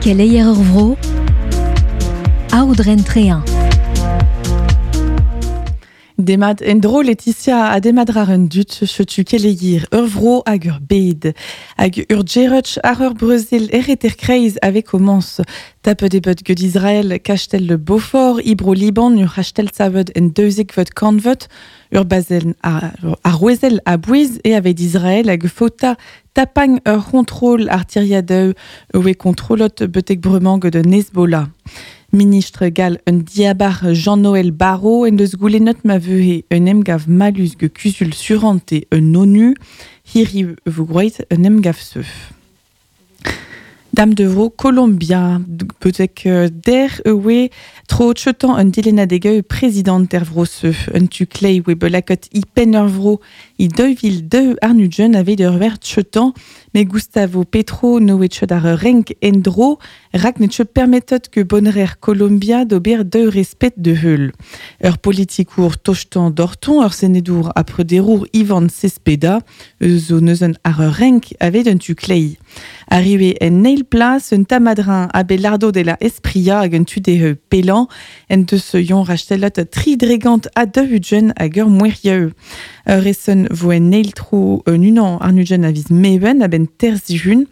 Keleier ur vro, Aodren Trehin. Demat en-dro Laetitia ha demat rar un dud, setu keleier ur vro hag ur bed. Hag ur djerutch ar ur brezil ereter kreiz ave komañs. Tapet eo bet get Israel kastell le Beaufort, e bro Liban ur c'hastell savet en daouzekvet kantved, ur bazenn arouezel a-bouez eo aveit Israel hag faota tapagn ur c'hontrol ar tiriadoù oe kontrolot betek bremañ get un Hezbollah. Ministr gall un diabar Jean-Noël Barrot en deus goulennet ma vehe un emgav mallus get kuzul surante un ONU. Hiriv e vo groeit un emgav-se. Dam de vro Kolombia, betek der e oe tro cheutañ un dilennadeg prezidant er vro-se. Un tu klei oe bet lakaet e penn ur vro e 2002 àr-nugent aveit ur wer cheutañ, met Gustavo Petro n'oe chet ar renk en-dro rak ne teu permetet que bonner Kolombia d'ober daou respet de heul. Ur politikour tostañ doc'htoñ, ur senedour ha prederour Ivan Cespeda, eus zo neuzen ar ur renk aveit un tu kleiz. Arrivé en eil plas, un tamadrin Abelardo de la Espria hag un tu dezhe pellañ, en deus yon rastellat tri dregant ha daou-ugent hag ur mouerieu. Ur reson vo en eil tro un unan àr-ugent a viz Meven a-benn terzhun.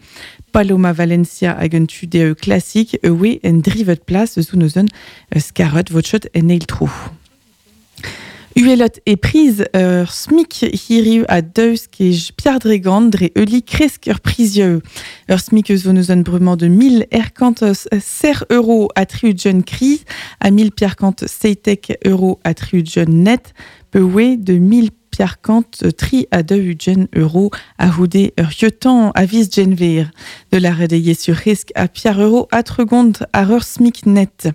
Paloma Valencia hag un tu dezhe klasik e oe en drivet plas eus neuzen skarret votchot en eil tro. Uhelot e priz ur SMIC hiriv a deus kej Pierre Dregant dre euli kresk ur prizioù. Ur SMIC eus zo neuzen bremañ de 1000 erkant ser euro a tri-ugent kriz ha 1000 pierkant seitek euro a tri-ugent net pe oe de 1000 Pierre-Kant tri ha daou-ugent euro a-c'houde ur yeutañ a viz Genver. De lâret eo sur risk ha Pierre euro ha tregont àr ur SMIC net.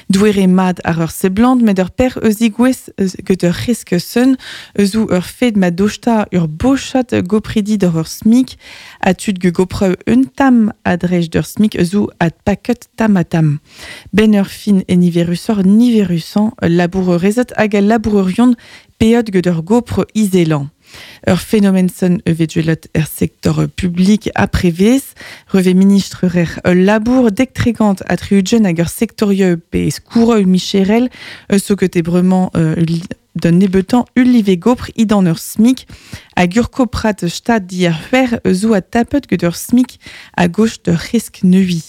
Doere mat àr ur seblant met ur per eus digouez get ur risk seun eus ur fed ma dosta ur bochad gopridi d'ur ur SMIC ha tud ge gopreu un tamm a-drej d'ur SMIC eus ad paket tamm ha tamm. Ben ur fin e niverusoc'h niverusañ labourerezed hag al labourerion peot get ur gopr izelañ. Ur fenomen-sen e vez gwelet er sektor publik ha prevez. Revez ministr ur ul labour dek-tregont ha tri-ugent hag ur sektorioù pe skourroù micherel eus zo ket e bremañ d'un nebeutañ ul live gopr idan ur SMIC hag ur koprad stad diàr c'hwec'h eus zo adtapet get ur SMIC a-goch d'ur c'hresk neuiñ.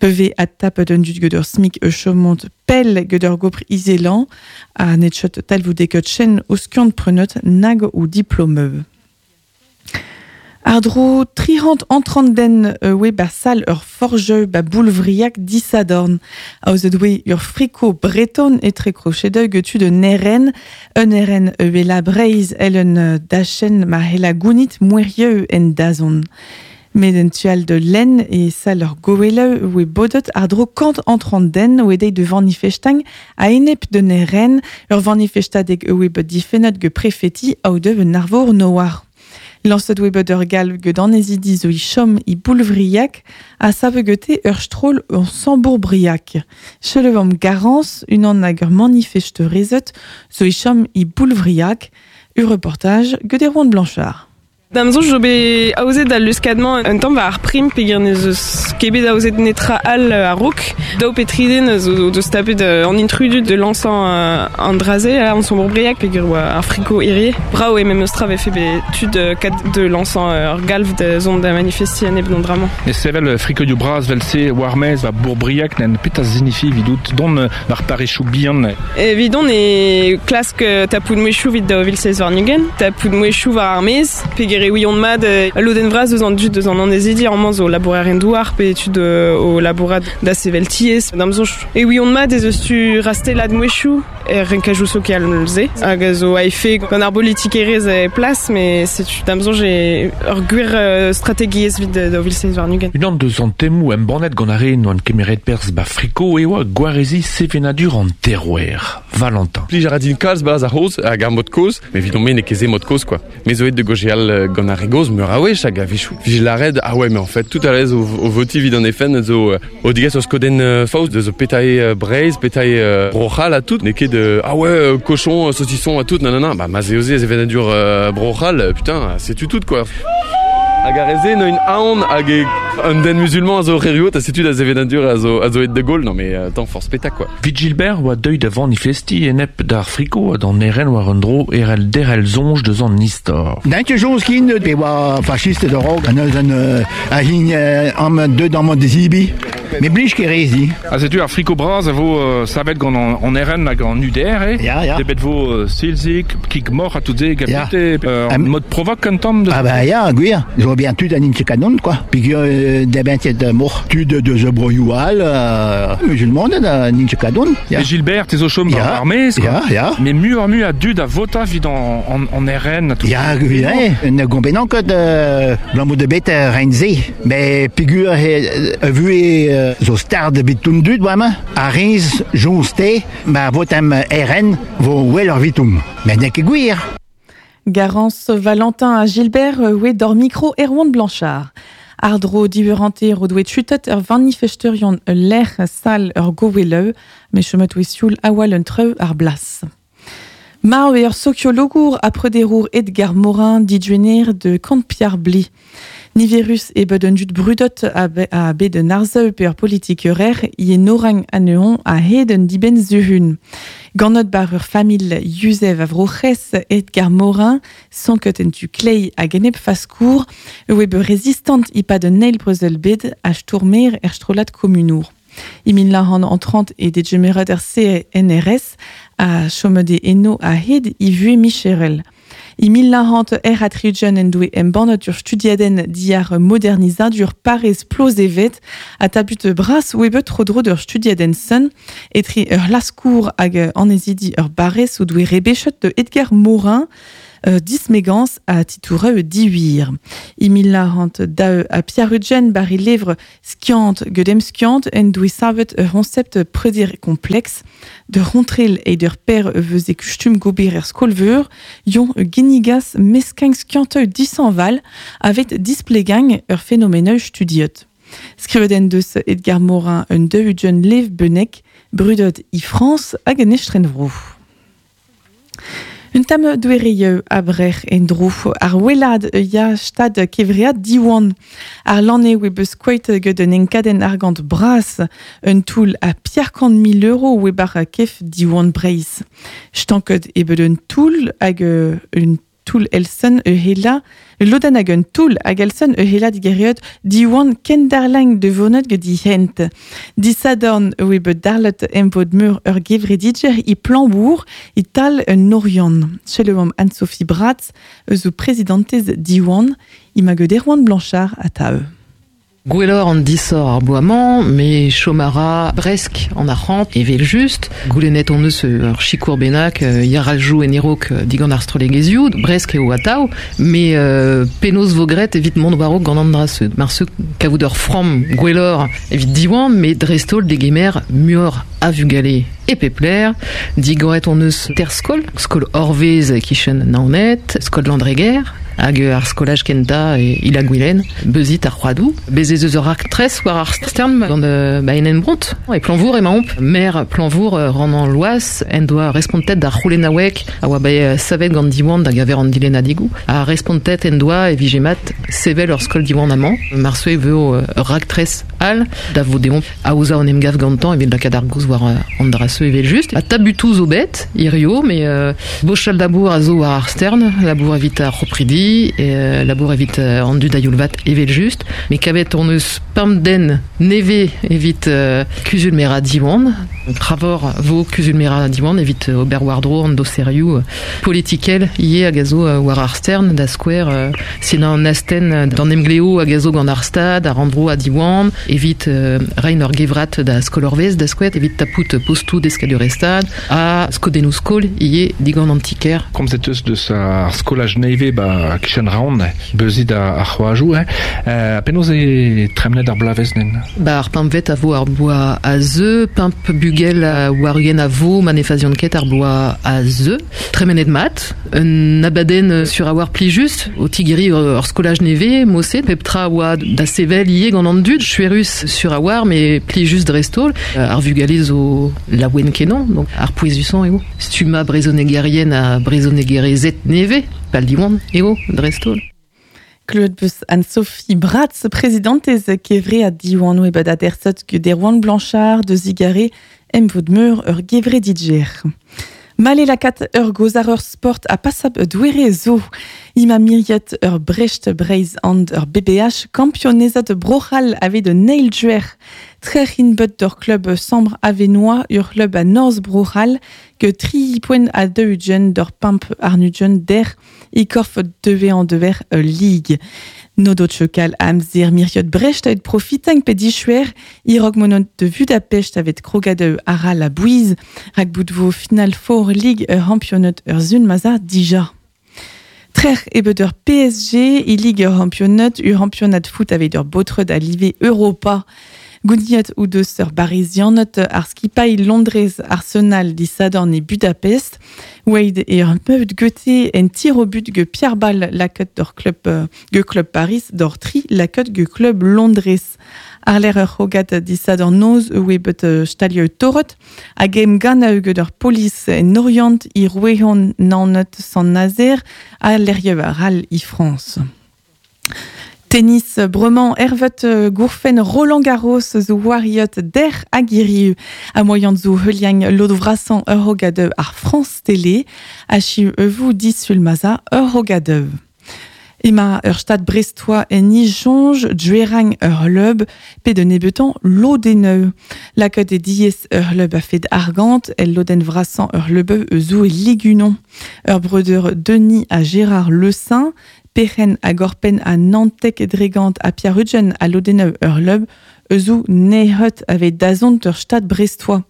Pa vez adtapet an dud get ur SMIC e chomont pell get ur gopr izelañ ha ne chot talvoudekaet chen o skiant-prenet nag o diplomeu. Àr-dro 300 antrant den e oe ba sal ur forjeu ba Boulvriag disadorn. Aozet oe ur friko breton etre krochedeu get tud un RN, un RN e wela Breizh èl un dachenn ma c'hella gounit moerieu en dazont. Met en tu all da lenn e sal ur goueleu e oe bodet àr-dro kant antrant den oe deit da vanifestañ a-enep d'un RN, ur vanifestadeg e oe bet difennet get prefeti aodev un arvor noar. Lañset oe bet ur galv get annezidi zo e chom e Boulvriag ha savet gete ur stroll ur Sambourbriag. Selaouomp Garance, unan ag ur manifesterezed zo e chom e Boulvriag. Ur reportaj get Erwan Blanchard. Da'm soñj zo bet aozet al luskad-mañ un tamm war ar prim peogwir n'ez eus ket bet aozet netra all a-raok. Daou pe tri den zo o deus tapet an intrudu de lañsañ an dra-se an Sombourbriac peogwir oa ar friko hirie. Brav eo memes tra vefe bet tud kat de lañsañ ur galv da zont da manifestiñ enep d'an dra-mañ. E sevel frikoioù bras 'vel-se war-maez ba Bourbriac n'en petra zinifi evidout dont war parrezioù bihan. Evidon e klask tapout mouezhioù evit 2027, tapout mouezhioù war ar maez, peger e ouiont mat ul lodenn vras eus an dud eus an annezidi amañ zo labourerien-douar pe tud o labourat da sevel tiez. D'am soñj e ouiont mat ez eus tu rastellat mouezhioù er renkajoù sokial-se hag a zo a-efe gant ar bolitikerezh e plas, met setu d'am soñj eo ur gwir strategiezh evit 2027. Unan deus an temoù embannet gant ar re n'oant kemeret perzh ba Friko e oa gwareziñ sevenadur an terroir. Valentin. Plij a ra din kalz 'barzh ar c'hozh hag ar mod kozh, met evidon-me n'eo ket se mod kozh quoi. Me zo aet da gaozeal gant ar re gozh meur a wech hag a-wechoù 'vije lâret ah ouais mais en fait tout à l'aise o, o votiñ evit an FN zo o degas ur skodenn faos deus petra eo Breizh, petra eo Bro-C'hall ha tout. N'eo ket ah ouais cochon, saucisson ha tout, nanana. Bah ma 'z eo se sevenadur Bro-C'hall, putain, setu tout quoi. Hag ar re-se neuint aon hag e un den musulman a zo erruout ha setu da sevenadur a zo, a zo aet da goll. Non mais attends, forzh petra quoi. Vit Gilbert oa deuet da vanifestiñ enep d'ar friko ha d'an eren war un dro erell derc'hel soñj deus an istor. N'int ket soñj kin pe oa fascisted a-raok neuze a hini amañ deuet amañ da zebriñ. Me blij ket re zi. Ha setu ar friko bras a vo savet gant an RN hag an UDR, eh? Ya, ya. Debet vo silzig, kig moc'h ha tout se, Ya. gapite, en mode provoque un tamm. Ah bah ya, gwir. Zo bien tud an int kanon, quoi. Peogwir debent ket moc'h tud deus broioù all, musulmaned an int kanon. Ya. Et Gilbert, te zo chom Ya, ar maez, quoi. Ya, ya. Mais muioc'h-mui a dud a vota evit an, an, RN ha tout. Ya, gwir, eh. Ne gomprenan ket abalamour da bet rein-se. Mais peogwir e vuhez zo stard evit tout an dud bremañ, ar rez joñs-te, ma votemp RN vo well evitomp. Met n'eo ket gwir. Garance Valentin ha Gilbert oe d'hor mikro Erwan Blanchard. Àr-dro div eur hanter o doe tutet ur vanifesterion ul lec'h sal ur goweleu, met chomet oe sioul awal un treu ar blas. Marv eo ur sokiologour ha prederour Edgar Morin diduenner de Kant-Piar Bli. Niverus eo bet un dud brudot a, be, a bet un arzeù pe ur politikerer i enorang anezhoñ a-hed un dibenn zuhun. Ganet bar ur familh yuzev a Vro-C'hres Edgar Morin, sanket en tu klei hag enep faskour, oe bet rezistant e-pad un eil brezel bed ha stourmer er strollad komunour. E 1930 e degemeret er CNRS ha chomet eo eno a-hed e vuhez micherel. E 1960 en doe embannet ur studiadenn diàr modernizadur parrez Plozevet ha tabut bras oe bet tro-dro d'ur studiadenn sun etre ur laskour hag annezidi ur barrez o doe rebechet de Edgar Morin dismegañs ha titoureu diwir. E 1902 ha Pierre-Ugène bar e levr skiant get emskiant en doe savet ur c'honsept preder kompleks de rontrel eid ur per eus e kustum gober er skol-veur, yon ginnigas meskañ skianteu dishañval avet displegañ ur fenomeneu studiet. Skrivet en deus Edgar Morin un daou-ugent lev bennek, brudet e Frañs hag en estrenvro. Un tamm doereioù abrec'h en-dro ar welad ya stad kevread Diwan. Ar lanne oe beus skoet get un enkadenn argant bras, un toull a piar kant mil euro oe bar kef Diwan Breizh. Stanket eo bet un toull hag un toull Elsen e hela, lodenn hag un toull hag Elsen e hela digeriet Diwan kendarlang de vonet get he hent. Disadorn oe bet darlet emvod meur ur gevredidjer e Plañvour e tal un Oriant. Selaouomp Anne-Sophie Bratz eus o prezidantez Diwan, emañ get Erwan Blanchard atav. Gwelloc'h an disoc'h ar bloaz-mañ, met chom a ra bresk an arc'hant evel just. Goulennet hon eus ur sikour bennak yaraljoù en e-raok digant ar strollegezhioù, bresk eo atav, met penaos vo graet evit mont war-raok gant an dra-se. Marse kavout ur framm gwelloc'h evit Diwan, met dreist-holl degemer muioc'h a vugale e pep lec'h. Digoret hon eus ter skol, skol Orvez e-kichen Naoned, skol Landreger, hag ar skolaj kentañ e Il-ha-Gwilen, beuzit ar c'hoadoù. Bez ez eus ur raktres war ar stern gant Baenen Bront. E Plañvour emaomp. Maer Plañvour Ronan Loas en doa respontet d'ar c'houlennaoueg a oa bet savet gant Diwan da geñver an dilennadegoù. Ha respontet en doa e vije mat sevel ur skol Diwan amañ. Marse e vo ur raktres all da vo deomp aozañ an emgav gantañ evit lakaat ar gaoz war an dra-se evel-just. Ha tabutoù zo bet hirio, met bochal labour a zo war ar stern, labour evit ar c'hopridi, labour evit an dud a-youl-vat evel-just. Met kavet hon eus pemp den nevez evit kuzul-merañ Diwan. Kravor vo kuzul-merañ Diwan evit ober war-dro an doserioù politikel ivez hag a zo war ar stern, da skouer sinañ an astenn d'an emglev hag a zo gant ar Stad, ar Rannvro ha Diwan, evit reiñ ur gevrat da Skol-Orvez, da skouer, evit tapout postoù deskadurezh-Stad ha skodennoù-skol ivez digant an ti-kêr. Komzet eus deus ar skolaj nevez ba kichen Raon, beuzit ar c'hoajoù, hein. Penaos eo tremenet ar bloavezh nen? Ba ar pempvet a vo ar bloaz a zeu, pemp bugel war-ugent a vo ma ne faziont ket ar bloaz a zeu. Tremenet mat, un abadenn sur a oar plijus, o tigeriñ ur skolaj nevez, mod-se, pep tra a oa da sevel ivez gant an dud, chuerus sur a oar, met plijus dreist-holl. Ar vugale zo laouen-kenañ, donc ar pouezusañ eo. Stummañ brezhonegerien ha brezhonegerezed nevez, pal Diwan eo dreist-holl. Claude Bus Anne-Sophie Bratz, présidentez kevre a diwan oe bet adersot ge derwan Blanchard de Zigare em vod meur ur gevre didjer. Male lakat ur gozar ur sport a passab douere zo. Ima miriet ur Brecht Breiz and ur BBH kampionezat brochal ave de Neil Juer. Trec'hin bet d'ur club Sambre Avenois ur club a Norz brochal ge tri poent a deux d'ur pimp arnugen der i korf deve an dever ligue. Nodot chokal amzer miriot Brecht et profitang pe dichuer i rog monot de Budapest avet krogade ara la bouise rak bout final four ligue ur championat ur zun maza dija. Trer ebet ur PSG i ligue ur championat ur championat foot avet ur botred a live Europa. Gouniat ou deus ur Barisianot ar skipailh Londrez Arsenal disadorn e Budapest. Wade e ur meut goethe en tir au but ge Pierre Ball laket d'ur club ge club Paris d'ur tri laket ge club Londrez. Ar ur c'hogat disadorn noz oe bet stalio torot hag em gan a eus ur polis en Orient i rouehon nanet san Nazer a leriev ar al i France. Tennis bremañ ervet gourfen Roland Garros zo wariot der agiriu a moyan zo heuliang lodvrasan ur hogad ar France Télé a chi euvou disul maza ur hogad. Ema ur stad brestois en ijonj djuerang ur leub pe de nebetan lodeneu. La e diez ur leub a fet argant el loden vrasan ur leubeu zo e ligunon. Ur breudeur Denis a Gérard Le Saint, Perren a Gorpen a Nantek Dregant a Pierre Rudgen a lodeneu ur leub euzou nehot ave dazont ur stad brestois.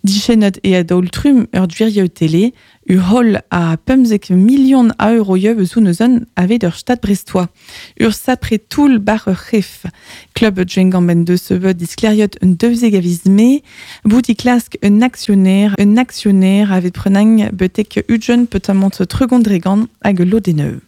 Dichenot e a daol trum ur dvirieu télé, ur hol a pemzek million a euroieu euzou neuzen ave ur stad brestois. Ur sapre toul bar ur c'hef. Club Djengamben de seve diskleriot un deuzeg aviz me, bout i klask un actionnaire avet prenang betek ujen petamant tregondregan hag lodeneu.